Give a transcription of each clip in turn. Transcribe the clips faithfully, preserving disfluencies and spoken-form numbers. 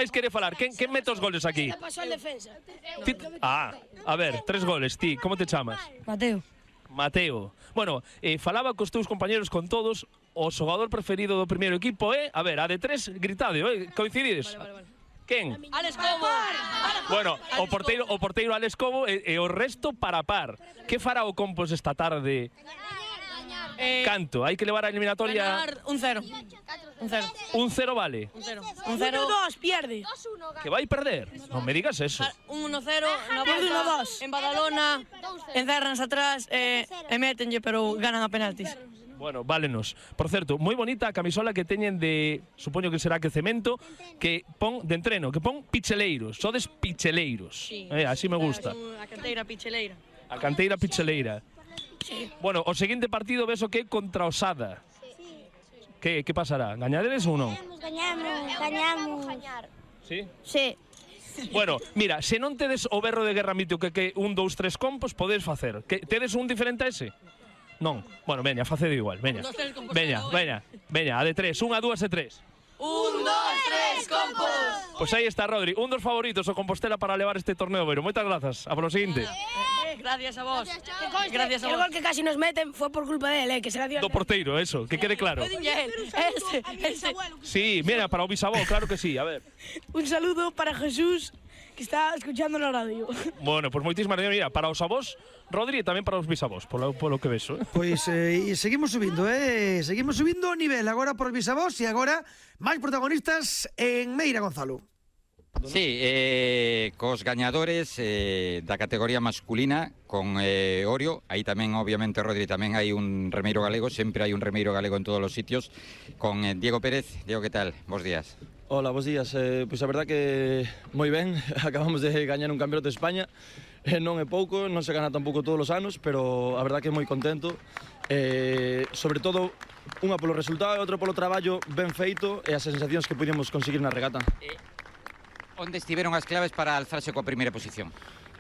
máis quere falar? Quen, quen mete os goles aquí? Pasou en defensa. Ti- Ah, a ver, tres goles. Ti, como te chamas? Mateo. Mateo. Bueno, eh, falaba cos teus compañeros con todos. O xogador preferido do primeiro equipo é... A ver, a de tres, gritade, eh? Coincidides? Vale, vale, vale. Quen? Alex Cobo. Bueno, o porteiro, o porteiro Alex Cobo e, e o resto para par. Que fará o Compos esta tarde? Eh, Canto? Hai que levar a eliminatoria... Ganar un cero. Un cero. Un cero vale. Un cero. Un cero. uno dos, pierde. Que vai perder? Non me digas eso. Un uno cero, na volta, en Badalona, encérranse atrás e, e métenlle, pero ganan a penaltis. Bueno, válenos. Por certo, moi bonita a camisola que teñen de... Supoño que será que cemento, que pon de entreno, que pon picheleiros. Sodes picheleiros. Sí. Eh, así me gusta. A canteira picheleira. A canteira picheleira. Sí. Bueno, o seguinte partido ves o que é contra Osada. Que, que pasará? Gañaderes ou non? Gañamos, gañamos. Sí? Sí. Bueno, mira, se non tedes o berro de guerra mito que que un, dous, tres compos, podes facer. Que tedes un diferente a ese? Non. Bueno, veña, facede igual, veña. Veña, veña, veña, a de tres, unha, dúas e tres. Un, dos, tres, compos! Pois aí está, Rodri, un dos favoritos o Compostela para levar este torneo Beiro. Moitas grazas. A polo seguinte. Gracias a vos. Gracias a El vos. gol que casi nos meten fue por culpa de él, eh, que se la dio. Do porteiro, eso, que quede claro. Ese, ese. Sí, mira, para o bisavó, claro que sí, a ver. Un saludo para Jesús, que está escuchando la radio. Bueno, pois moitísimas gracias, mira, para os avós, Rodri, e tamén para os bisavós, polo, polo que vexo. Eh? Pois eh, seguimos subindo, eh? Seguimos subindo o nivel agora por bisavós e agora máis protagonistas en Meira, Gonzalo. Sí, eh, cos gañadores eh, da categoría masculina con eh, Orio, aí tamén obviamente Rodri tamén hai un remeiro galego, sempre hai un remeiro galego en todos os sitios, con eh, Diego Pérez. Diego, que tal? Bos días. Hola, bos días. Eh, pois a verdad que moi ben, acabamos de gañar un campeonato de España, eh, non é pouco, non se gana tampouco todos os anos, pero a verdad que moi contento, eh, sobre todo unha polo resultado e outra polo traballo ben feito e as sensacións que pudimos conseguir na regata. Eh, onde estiveron as claves para alzarse coa primeira posición?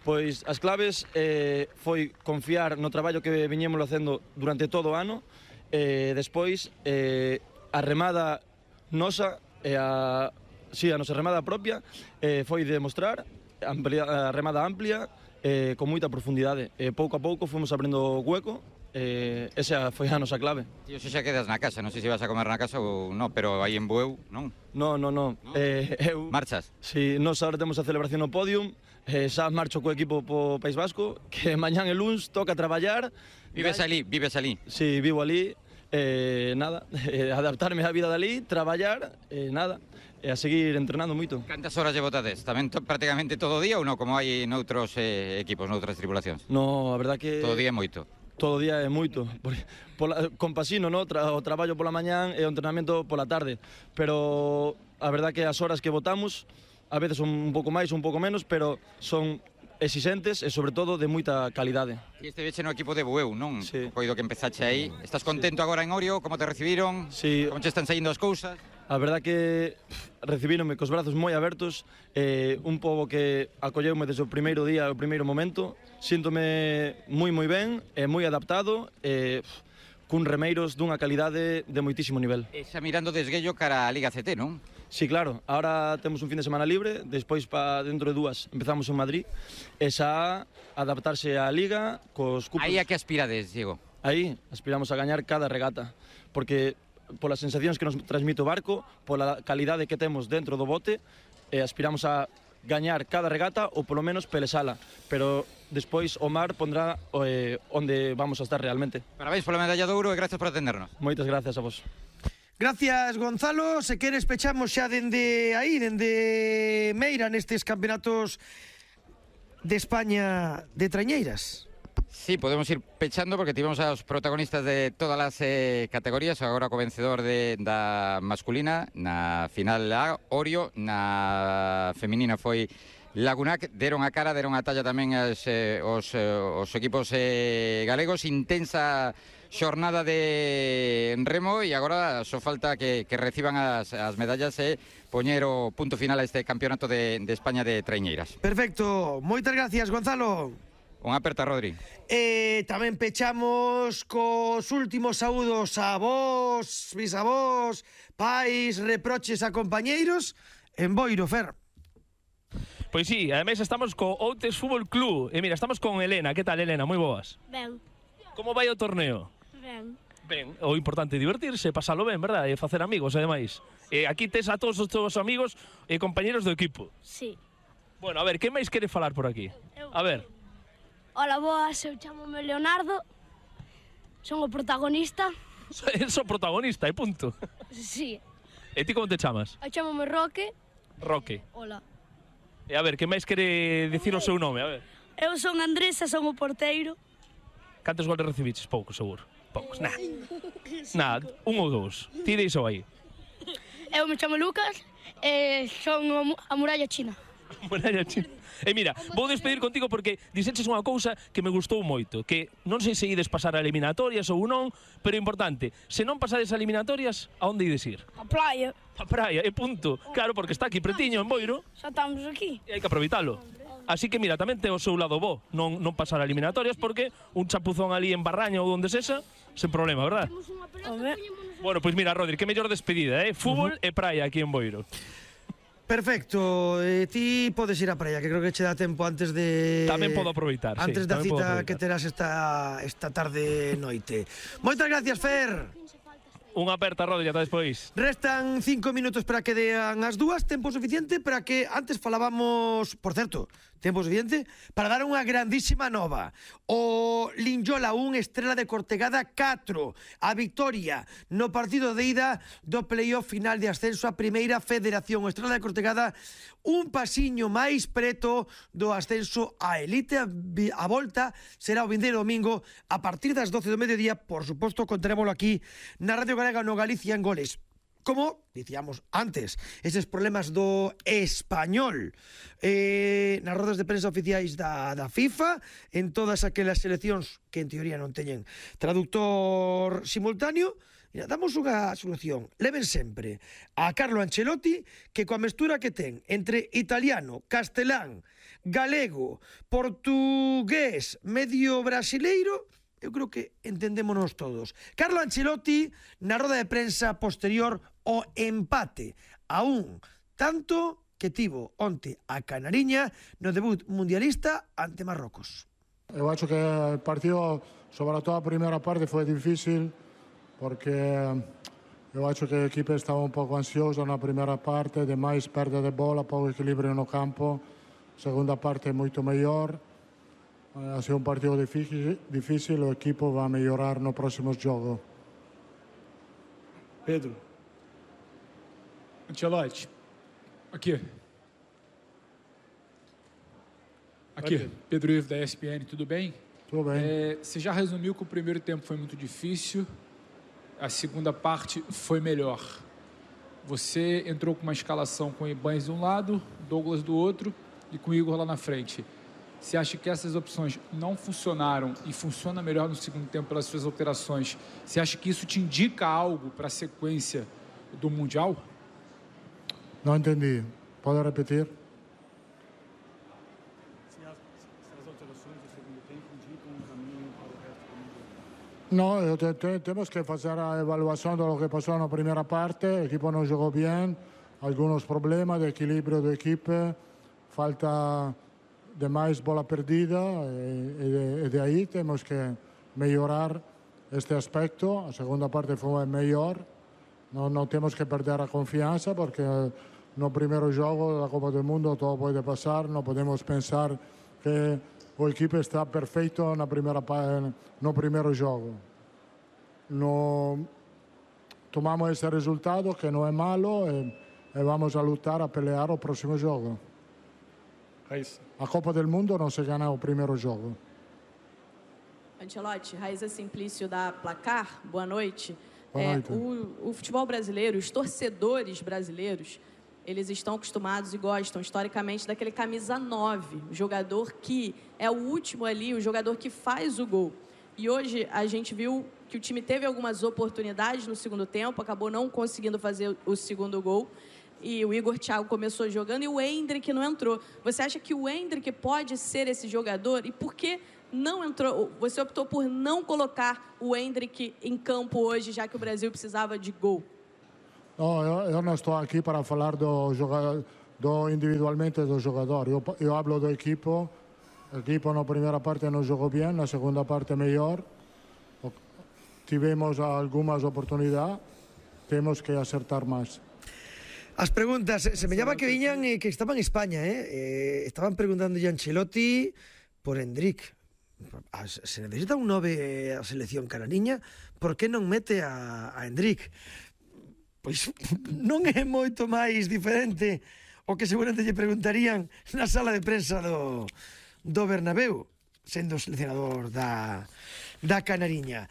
Pois as claves eh, foi confiar no traballo que viñémolo facendo durante todo o ano, e eh, despois eh, a remada nosa e a, sí, a nosa remada propia eh, foi demostrar amplia, a remada amplia eh, con moita profundidade. Eh, pouco a pouco fomos abrindo o hueco. Eh, esa foi a nosa clave. Tío, se xa quedas na casa, non sei se vas a comer na casa ou non, pero aí en Bueu, non? No, no, no. ¿No? Eh, eu, Marchas? Si, nos ahora temos a celebración no podium, eh, xa marcho co equipo po País Vasco, que mañán e luns toca traballar. Vives ali, vives ali? Si, vivo ali, eh, nada, eh, adaptarme á vida dali, traballar, eh, nada, e a seguir entrenando moito. Cantas horas lle botades? Tamén to, prácticamente todo o día ou non, como hai noutros eh, equipos, noutras tripulacións? No, a verdad que... Todo o día é moito. Todo o día é moito. Por, pola, compasino, no? Tra, o traballo pola mañán e o entrenamento pola tarde. Pero a verdad que as horas que botamos a veces son un pouco máis, un pouco menos, pero son exigentes e sobre todo de moita calidade. E este veche no equipo de Bueu, non? Sí. Coido que empezache aí. Estás contento sí. agora en Orio? Como te recibiron? Sí. Como che están saindo as cousas? A verdad que recibíronme cos brazos moi abertos, eh, un pobo que acolleume desde o primeiro día, o primeiro momento. Síntome moi moi ben, e moi adaptado, e cun remeiros dunha calidade de moitísimo nivel. E xa mirando desguello cara a Liga C T, non? Sí, claro, ahora temos un fin de semana libre, despois pa dentro de dúas empezamos en Madrid, e xa adaptarse á Liga cos cupos. Aí a que aspirades, Diego? Aí aspiramos a gañar cada regata, porque polas sensacións que nos transmite o barco, pola calidade que temos dentro do bote, eh, aspiramos a gañar cada regata ou polo menos pelesala, pero despois o mar pondrá eh, onde vamos a estar realmente. Parabéns pola medalla de ouro e gracias por atendernos. Moitas gracias a vos. Gracias, Gonzalo. Se queres pechamos xa dende aí, dende Meira, nestes campeonatos de España de traiñeiras. Sí, podemos ir pechando porque tivemos aos protagonistas de todas as eh, categorías. Agora co vencedor de, da masculina na final A, Orio. Na feminina foi Lagunac. Deron a cara, deron a talla tamén as, eh, os, eh, os equipos eh, galegos. Intensa xornada de remo e agora só falta que, que reciban as, as medallas e poñer o punto final a este campeonato de, de España de traiñeiras. Perfecto, moitas gracias, Gonzalo. Unha aperta, Rodri. E tamén pechamos cos últimos saúdos a vos, bisavós, pais, reproches a compañeiros en Boiro, Fer. Pois sí, ademais estamos co Outes Fútbol Club. E mira, estamos con Elena. Que tal, Elena? Moi boas. Ben, Como vai o torneo? ben. Ben, o importante é divertirse, pasalo ben, verdad? E facer amigos, ademais. E aquí tes a todos os teus amigos e compañeros do equipo. Sí. Bueno, a ver, que máis quere falar por aquí? A ver, Hola, boas, eu chamome Leonardo. Son o protagonista. so protagonista, e punto. Sí. E ti como te chamas? Eu chamome Roque. Roque. Hola. E a ver, que máis quere dicir o seu nome? A ver. Eu son Andrés e son o porteiro. Cantos goles recibiches? Poucos, seguro. Poucos, nada. Nada, un ou dous. Ti deixo aí. Eu me chamo Lucas e son o mu- a muralla china. Muralla china. E mira, vou despedir contigo porque dixeches unha cousa que me gustou moito, que non sei se ides pasar a eliminatorias ou non, pero importante, se non pasades a eliminatorias, a onde ides ir? A playa. A praia, e punto. Claro, porque está aquí pretiño, en Boiro, Xa estamos aquí. e hai que aproveitalo. Así que mira, tamén ten o seu lado bo, non, non pasar a eliminatorias, porque un chapuzón ali en Barraña ou onde sexa, sen problema, verdad? Home. Bueno, pois mira, Rodri, que mellor despedida, eh? Fútbol e praia aquí en Boiro. Perfecto, eh, ti podes ir a praia, que creo que che dá tempo antes de... Tamén podo aproveitar, sí, Antes da tamén podo cita aproveitar. que terás esta, esta tarde noite. Moitas gracias, Fer. Unha aperta, Rodri, ata despois. Restan cinco minutos para que dean as dúas, tempo suficiente para que antes falábamos, por certo, tempo suficiente para dar unha grandísima nova. O Linyola un, Estrela de Cortegada catro, a victoria no partido de ida do playoff final de ascenso a Primeira Federación. O Estrela de Cortegada un pasiño máis preto do ascenso a elite. A, vi- a volta será o vindeiro domingo a partir das doce do mediodía. Por suposto, contarémoslo aquí na Radio Galega no Galicia en Goles. Como dicíamos antes, eses problemas do español eh, nas rodas de prensa oficiais da, da FIFA, en todas aquelas seleccións que en teoría non teñen traductor simultáneo. Mira, damos unha solución. Leven sempre a Carlo Ancelotti, que coa mestura que ten entre italiano, castelán, galego, portugués, medio brasileiro, eu creo que entendémonos todos. Carlo Ancelotti, na roda de prensa posterior ao empate a un tanto que tivo onte a Canariña no debut mundialista ante Marrocos. Eu acho que o partido, sobre todo a primeira parte, foi difícil porque eu acho que a equipe estaba un pouco ansiosa na primeira parte, demais perda de bola, pouco equilibrio no campo. A segunda parte é moito mellor. Ha sido un partido difícil, difícil, o equipo va a mellorar no próximo jogo. Pedro. Ancelotti. Aqui. Aqui, Pedro Ivo da E S P N, tudo bem? Tudo bem. É, você já resumiu que o primeiro tempo foi muito difícil, a segunda parte foi melhor. Você entrou com uma escalação com o Ibanez de um lado, Douglas do outro e com o Igor lá na frente. Você acha que essas opções não funcionaram e funciona melhor no segundo tempo pelas suas alterações? Você acha que isso te indica algo para a sequência do Mundial? Não entendi. Pode repetir? No, eu te, te, temos que fazer a avaliação do que passou na primeira parte. O equipo não jogou bem, alguns problemas de equilíbrio da equipe, falta de mais bola perdida e, e, de, e de aí temos que melhorar este aspecto. A segunda parte foi melhor, não, não temos que perder a confiança porque no primeiro jogo da Copa do Mundo todo pode passar, não podemos pensar que o equipe está perfeito na primeira, no primeiro jogo. No, tomamos esse resultado que não é malo e, e vamos a lutar a pelear o próximo jogo. A Copa do Mundo não se ganha o primeiro jogo. Ancelotti, Raíza Simplício da Placar, boa noite. Boa noite. É, o, o futebol brasileiro, os torcedores brasileiros, eles estão acostumados e gostam historicamente daquele camisa nove, o jogador que é o último ali, o jogador que faz o gol. E hoje a gente viu que o time teve algumas oportunidades no segundo tempo, acabou não conseguindo fazer o segundo gol. E o Igor Thiago começou jogando e o Endrick não entrou. Você acha que o Endrick pode ser esse jogador? E por que não entrou? Você optou por não colocar o Endrick em campo hoje, já que o Brasil precisava de gol? No, eu, eu non estou aquí para falar do, do individualmente do jogador. Eu, eu hablo do equipo. O equipo na primeira parte non jogou bien, na segunda parte mellor. Tivemos algunhas oportunidades, temos que acertar máis. As preguntas, se me llama que viñan eh, que estaban en España, eh? eh estaban preguntando a Ancelotti por Endrick. Se necesita un nove a selección canariña, por que non mete a, a Endrick? Pois non é moito máis diferente o que seguramente lle preguntarían na sala de prensa do, do Bernabéu, sendo seleccionador da, da Canariña.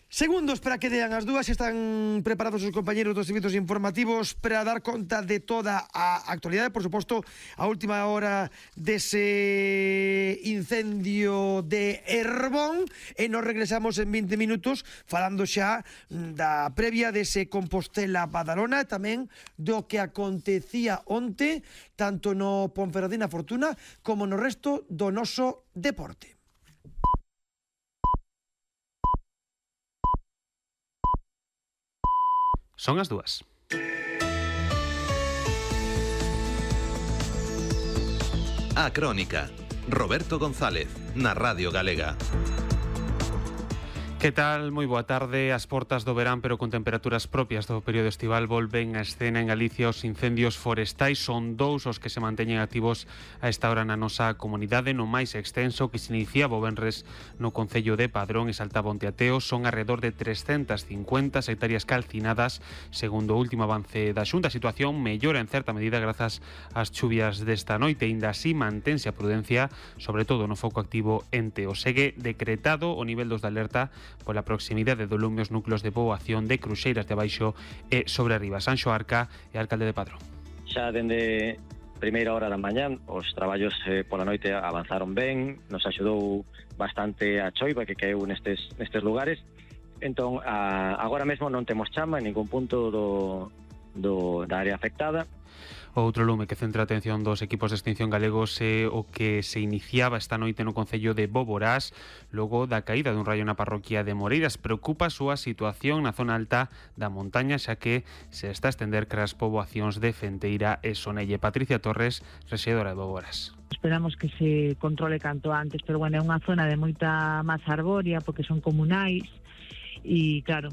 Segundos para que dean as dúas. Están preparados os compañeros dos servizos informativos para dar conta de toda a actualidade. Por suposto, a última hora dese incendio de Herbón, e nos regresamos en vinte minutos falando xa da previa dese Compostela-Badalona e tamén do que acontecía onte tanto no Ponferradina Fortuna como no resto do noso deporte. Son as dúas. A Crónica. Roberto González, na Radio Galega. Que tal? Moi boa tarde. As portas do verán, pero con temperaturas propias do período estival, volven a escena en Galicia os incendios forestais. Son dous os que se manteñen activos a esta hora na nosa comunidade. No máis extenso que se iniciaba o venres no concello de Padrón e saltaba onte a Teo, son alrededor de trescentas cincuenta hectáreas calcinadas. Segundo o último avance da Xunta, a situación mellora en certa medida grazas ás chuvias desta noite. Ainda así mantense a prudencia, sobre todo no foco activo en Teo. Segue decretado o nivel dos de alerta pola proximidade do lume os núcleos de poboación de Cruxeiras de Abaixo e sobre arriba. Sanxo Arca e alcalde de Padrón. Xa dende primeira hora da mañán os traballos eh, pola noite avanzaron ben, nos axudou bastante a choiva que caeu nestes, nestes lugares. Entón, a, agora mesmo non temos chama en ningún punto do, do, da área afectada. Outro lume que centra a atención dos equipos de extinción galegos é o que se iniciaba esta noite no concello de Boborás logo da caída dun raio na parroquia de Moreiras. Preocupa a súa situación na zona alta da montaña, xa que se está a estender cras poboacións de Fenteira e Sonelle. Patricia Torres, rexedora de Boborás. Esperamos que se controle canto antes, pero bueno, é unha zona de moita masa arbórea porque son comunais e claro,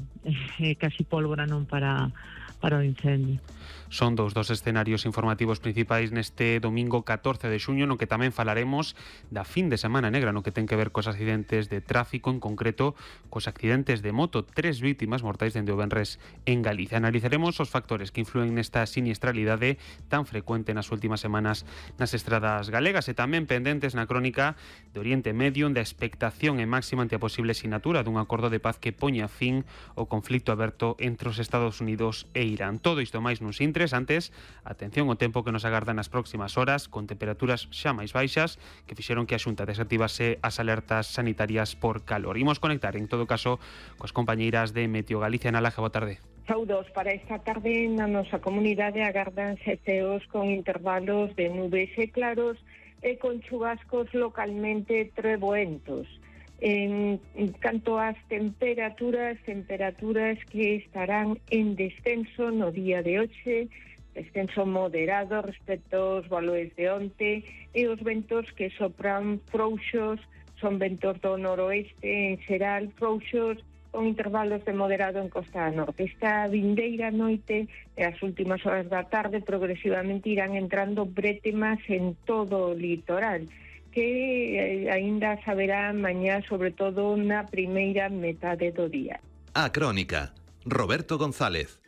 é casi pólvora non para para o incendio. Son dous dos escenarios informativos principais neste domingo catorce de xuño, no que tamén falaremos da fin de semana negra, no que ten que ver cos accidentes de tráfico, en concreto cos accidentes de moto. Tres vítimas mortais dende o venres en Galicia. Analizaremos os factores que influen nesta siniestralidade tan frecuente nas últimas semanas nas estradas galegas, e tamén pendentes na crónica de Oriente Medio, da expectación e máxima ante a posible sinatura dun acordo de paz que poña fin ao conflito aberto entre os Estados Unidos e Irán. Todo isto máis nuns intres. Antes, atención ao tempo que nos agarda nas próximas horas, con temperaturas xa máis baixas que fixeron que a Xunta desactivase as alertas sanitarias por calor. Imos conectar, en todo caso, coas compañeiras de Meteo Galicia. Na Laje, boa tarde. Saudos, para esta tarde na nosa comunidade agardanse ceos con intervalos de nubes e claros e con chubascos localmente treboentos. En canto ás temperaturas, temperaturas que estarán en descenso no día de hoxe, descenso moderado respecto aos valores de onte, e os ventos que sopran frouxos son ventos do noroeste en xeral, frouxos con intervalos de moderado en costa norte. Esta vindeira noite e as últimas horas da tarde progresivamente irán entrando brétemas en todo o litoral, que aínda saberá mañá, sobre todo na primeira metade do día. A Crónica. Roberto González.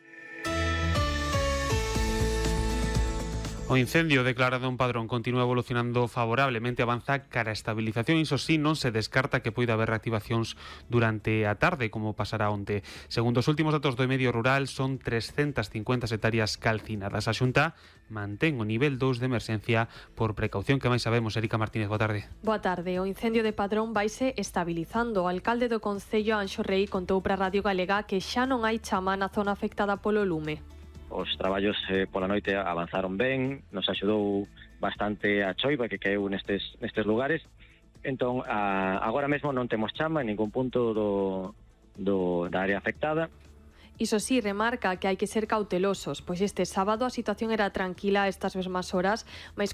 O incendio declarado en Padrón continúa evolucionando favorablemente, avanza cara a estabilización. Iso sí, non se descarta que poida haber reactivacións durante a tarde, como pasará onte. Segundo os últimos datos do medio rural, son trescentas cincuenta hectáreas calcinadas. A Xunta mantén o nivel dous de emerxencia por precaución. Que máis sabemos? Erika Martínez, boa tarde. Boa tarde. O incendio de Padrón vaise estabilizando. O alcalde do Concello, Anxo Rei, contou para Radio Galega que xa non hai chama na zona afectada polo lume. Os traballos eh, pola noite avanzaron ben, nos axudou bastante a choiva que caeu nestes, nestes lugares. Entón, a, agora mesmo non temos chama en ningún punto do, do, da área afectada. Iso sí, remarca que hai que ser cautelosos, pois este sábado a situación era tranquila a estas mesmas horas, mas